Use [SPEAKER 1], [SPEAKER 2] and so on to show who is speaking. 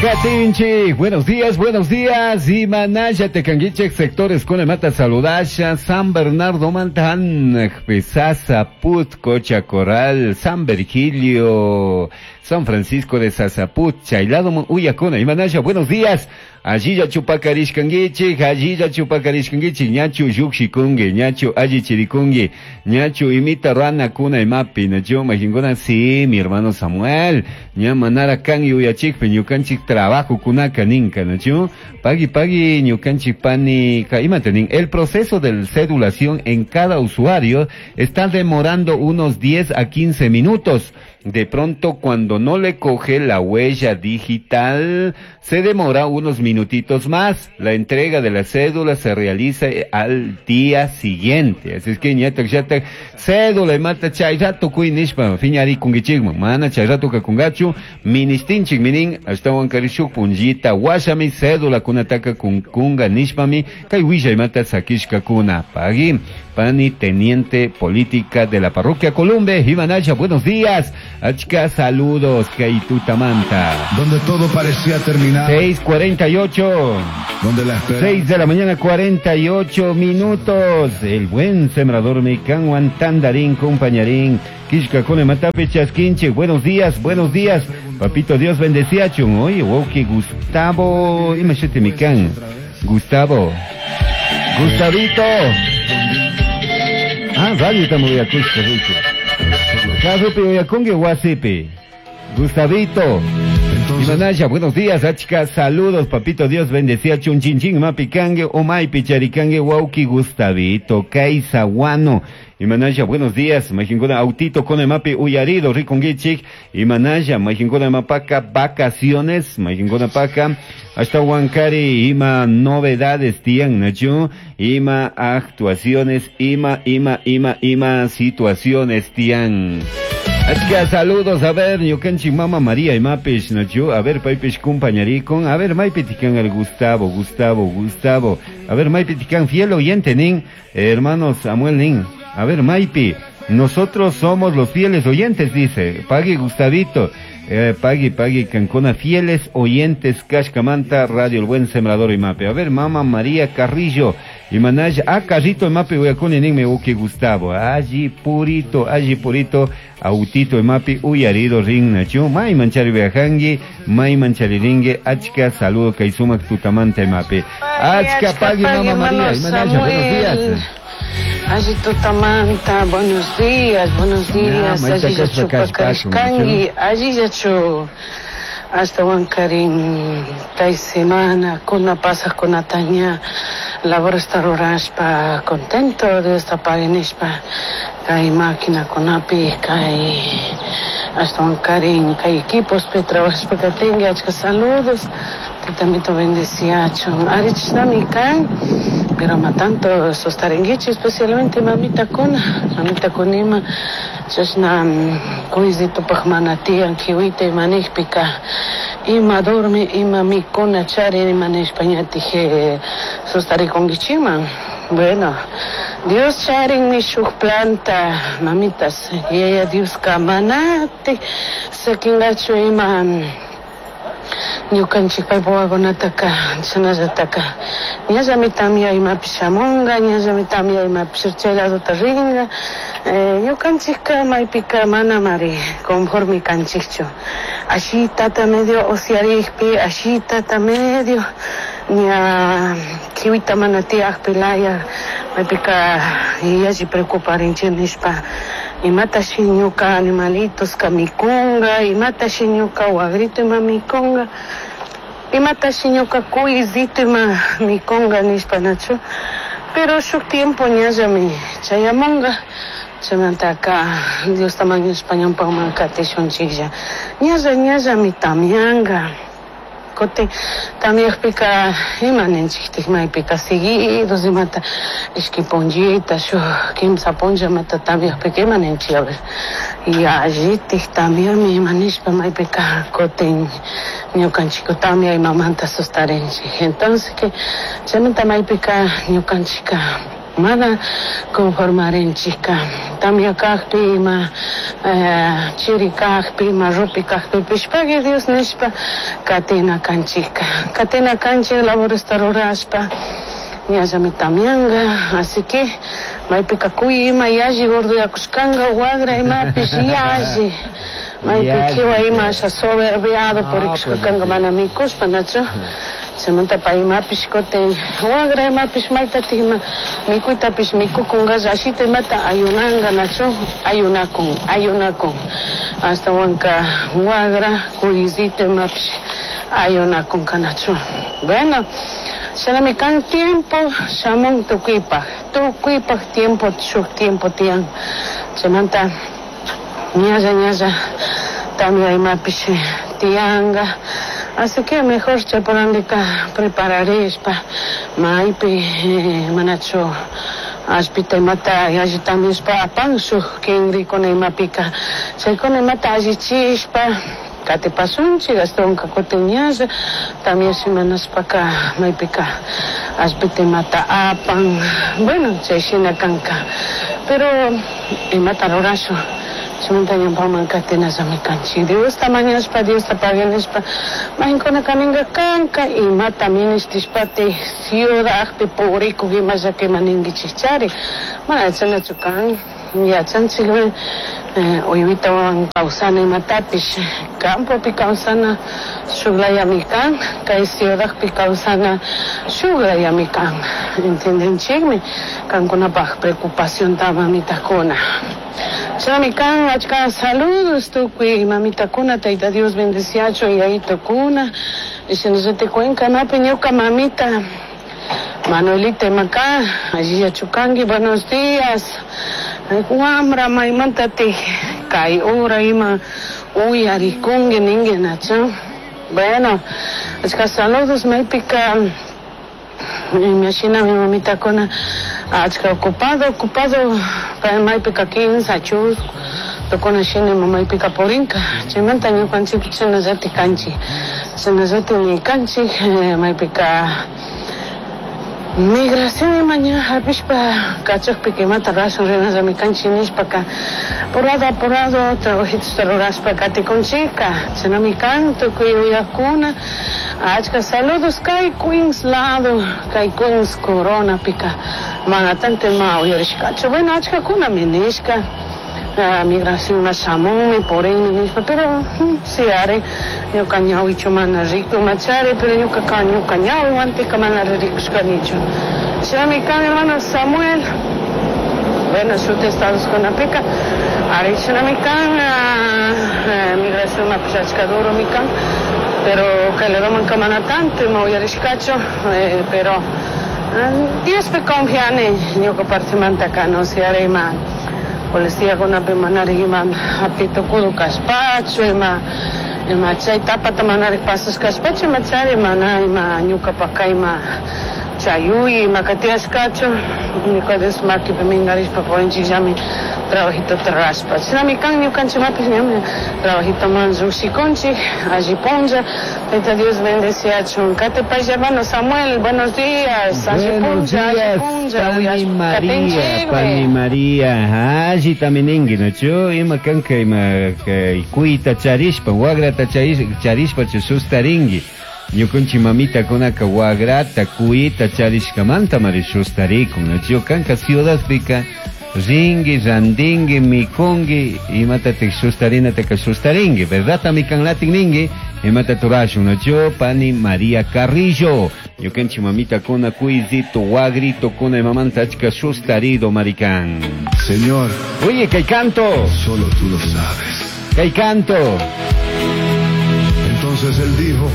[SPEAKER 1] Katinchik, buenos días, buenos días. Imanalla tekanguichik, sectores con mata saludasha, San Bernardo Mantan, Sasaput, Cocha Coral, San Virgilio, San Francisco de Sasaput, Chaylado Uyacuna, Imanalla, buenos días. Allilla chupakarishkanguichik, allilla chupakarishkanguichik, ñachu llukshikungi, ñachu allichirikungi, ñachu imita rana kuna imapi, nachu majinkuna, sí, mi hermano Samuel, ña manara kan yuyachikpi, ñukanchik trabajo kunaka ninka, nachu, pagui pagui ñukanchik pani, ka, imate nin, el proceso de cedulación en cada usuario está demorando unos 10 a 15 minutos. De pronto, cuando no le coge la huella digital, se demora unos minutitos más. La entrega de la cédula se realiza al día siguiente. Así es que, ñata, ñata, cédula y mata chay rato kui nishpa, fiñari kungichigma, mana chay rato kakungachu, ministinchik minin, hasta wankarishuk punjita, washami, cédula kunataka kunga nishpami, kay willa y mata sakishka kuna. Pagui, pani teniente política de la parroquia Columbe, Ivanaya, buenos días. Achka, saludos, Kaitutamanta.
[SPEAKER 2] Donde todo parecía terminar.
[SPEAKER 1] 6:48.
[SPEAKER 2] Donde la esperanza.
[SPEAKER 1] 6 de la mañana, 48 minutos. El buen sembrador Mecanguan Tandarín, compañarín. Kishka Kone Matape Chasquinche. Buenos días, buenos días. Papito Dios bendecía chun. Oye, wow, que Gustavo. Imagínate, Mikan. Gustavo. Gustavito. Ah, radio estamos de acuerdo, Rico. Kazupi Oyakungue Wasipi. Gustavito. Imanaya, buenos días, achka, saludos, papito Dios bendecía chunchinchín, mapicangue, omaipi, charicangue, wauki, Gustavito, Kaisaguano. Imanaya, buenos días, majinkuna, autito con el mapi, uyarido, riconguichik, Imanaya, majinkuna mapaca, vacaciones, majinkuna paca, hasta Huancari, ima novedades, tian, nachu, ima actuaciones, ima, ima, ima, ima situaciones, tian. Achka, saludos, a ver, ñukanchik mama María imapish, nachu, a ver, paypish compañarikun, a ver, maypitikan el Gustavo, Gustavo, Gustavo, a ver, maypitikan, fiel oyente, nin, hermano Samuel, nin, a ver, maypi, nosotros somos los fieles oyentes, dice, pagui Gustavito, pagui, pagui, cancona, fieles oyentes, Kashkamanta, Radio El Buen Sembrador Imape, a ver, mama María Carrillo, Imanaya, ah, Carrito Imape, uyakuni, nin, me uki Gustavo, allí purito, autito Imapi, uyarido, rin, nachu, may manchari viajangi, may manchari ringue, achka, saludo, kaisumak, tutamanta Imape, achka, pagui, mama María, Imanaya, buenos días.
[SPEAKER 3] Allí tutamanta, buenos días, buenos días,
[SPEAKER 1] Ya,
[SPEAKER 3] allí ya
[SPEAKER 1] maita
[SPEAKER 3] chupa
[SPEAKER 1] kashpa
[SPEAKER 3] karishkangi, allí ya chu, hasta Huancarín, kay semana, kuna pasas kuna taña, labor esta rurashpa, contento de esta paginishpa, kay máquina kunapi, kay hasta Huancarín, kay equipos, pe trabajashpa katingi, achka saludos, también bendeciachon, arichnami kan, pero ma tanto sostarenguichi, especialmente mamita kuna, mamita kunima, chashna kuizito pajmana tian kiwite manijpika, ima dormi, ima mikuna chari, ima nishpañatije sostarikonguichiman. Bueno, Dios charin mi shuk planta, mamitas, y ella Dios kamanate, sakingacho ima ñukanchik paypa wakunataka chashnallataka ñallami tamya imapish shamunga, ñallami tamya imapish chay ladota ringa. Ñukanchikka maypika manamari conforme kanchikchu. Ashitata medio osiarikpi, ashitata medio ña kiwita mana tiyakpi laya maypika yalli preocuparinchik nishpa. Imatashi ñuka animalitos ka mikunga, imatashi ñuka wagrito ima mikunga, imatashi ñuka kuyzito ima mikunga nishpa nachu. Pero shuk tiempo ñallami chayamunga, chaymantaka Diosta mañashpa ñawpaman katishunchiklla. Ñalla ñallami tamyanga. Kutin tamyakpika ima ninchiktik maypika seguidos imata ishki punllita shuk kimsa punlla imata tamyakpika ima ninchik, a ver, yallitik tamyami ima nishpa maypika kutin ñukanchik tamya imamanta sustarinchik. Entonces que chaymanta maypika ñukanchika Mana conformarinchikka tamya kakpi ima chiri kakpi ima rupi kakpipish pagui Dios nishpa katina kanchikka katina kanchik laboresta rurashpa ñallami tamyanga así que maypika kuy ima yalli gordoyakushkanka wagra imapish yalli maypi kiwa ima asha soberbiado purikushkanka mana mikushpa nachu chaymanta pay imapish kutin wagra imapish maytatik ima mikuytapish mikukunkalla ashita imata ayunanka nachu ayunakun ayunakun ashtawanka wagra kuyisito imapish ayunakunka nachu. Bueno, shinami kan tiempo shamun tukuypak tukuypak tiempo shuk tiempo tiyan chaymanta ñalla ñalla tamya imapish tiyanka. Así que mejor chaypurandika prepararishpa maypi manachu allpita imata yalli tamyashpa apan shuk kinrikuna imapika chaykuna imata allichishpa katipasunchik ashtawanka kutin ñalla tamyash imanashpaka maypika allpita imata apan. Bueno, chay shina kanka pero imata rurashun chaymanta ñawpaman katinallami kanchik Diosta mañashpa Diosta paganishpa majinkuna kaninka kanka imata minishtishpati ciudadpi purikuk ima llakima ninkichikchari mana yachanachu kan yachanchikmi uywitawan kawsana imatapish campopi kawsana shuk layami kan kay ciudadpi kawsana shuk layami kan entendenchikmi kankunapaq preocupacionta mamitakuna. Shinami kan achka saludos tukuy mamitakuna Tayta Dios bendeciachun yayitukuna shinallati cuencanapi ñuka mamita Manuelita imaka allillachu kanki buenos días wamra maymantatik kay hora ima uyarikunki ninki nachu. Bueno, achka saludos maypika imashina mi mamitakuna achka ocupado ocupado maypika kinsa chusku tukuna shina maypika purinka chaymanta ñukanchik chashnallatik kanchik chashnallatikmi kanchik maypika migración ima ña hapishpa kachakpika imata rashun rinallami kanchik nishpaka apurado apurado trabajitosta rurashpa katikunchikka chashnami kan tukuy uyakuna achka saludos kay Queens lado kay Queens Coronapika mana tanto ima uyarishkachu. Bueno, achkakunami nishka migración ma shamunmi purinmi nishpa pero si ari ñuka ñawichu mana riku machari pero ñuka ñuka ñawiwantika mana rikushkanichu. Shinami kan hermano Samuel. Bueno, shuti estados kunapika ari shinami kan migración mapish achka duromi kan pero kay ladomanka mana tanto ima uyarishkachu pero Diospi confiani ñuka partimantaka no si ari ima policiakunapi manarik ima hapi tukudo kashpachu ima ima chay tapata manarik pasashkashpachu imachari mana ima ñukapaka ima chayuy ima katiyashkachu ñuka Dios makipi minkarishpa purinchikllami trabajitota rurashpa shinami kan ñukanchikmapish ñami trabajitoman llukshikunchik alli punlla Tayta Dios bendeciachun katipay hermano Samuel buenos días alli punlla alli punlla
[SPEAKER 1] Pani María, Pani María, allita ninki nachu ima kanka ima kuyta charishpa wagrata charishpa sustarinki ñukanchik mamitakunaka wagrata kuyta charishkamanta mari sustarikun nachu kanka ciudadpika rinki randinki mikunki imatatik sustarinataka sustarinki verdad mikanlatik ninki imata turashun nachu Pani María Carrillo ñukanchik mamitakuna kuyzito wagrito kuna imamanta achka sustarido marikan.
[SPEAKER 2] Señor,
[SPEAKER 1] oye, kay canto
[SPEAKER 2] solo tú lo sabes.
[SPEAKER 1] Kay canto.
[SPEAKER 2] Entonces él dijo: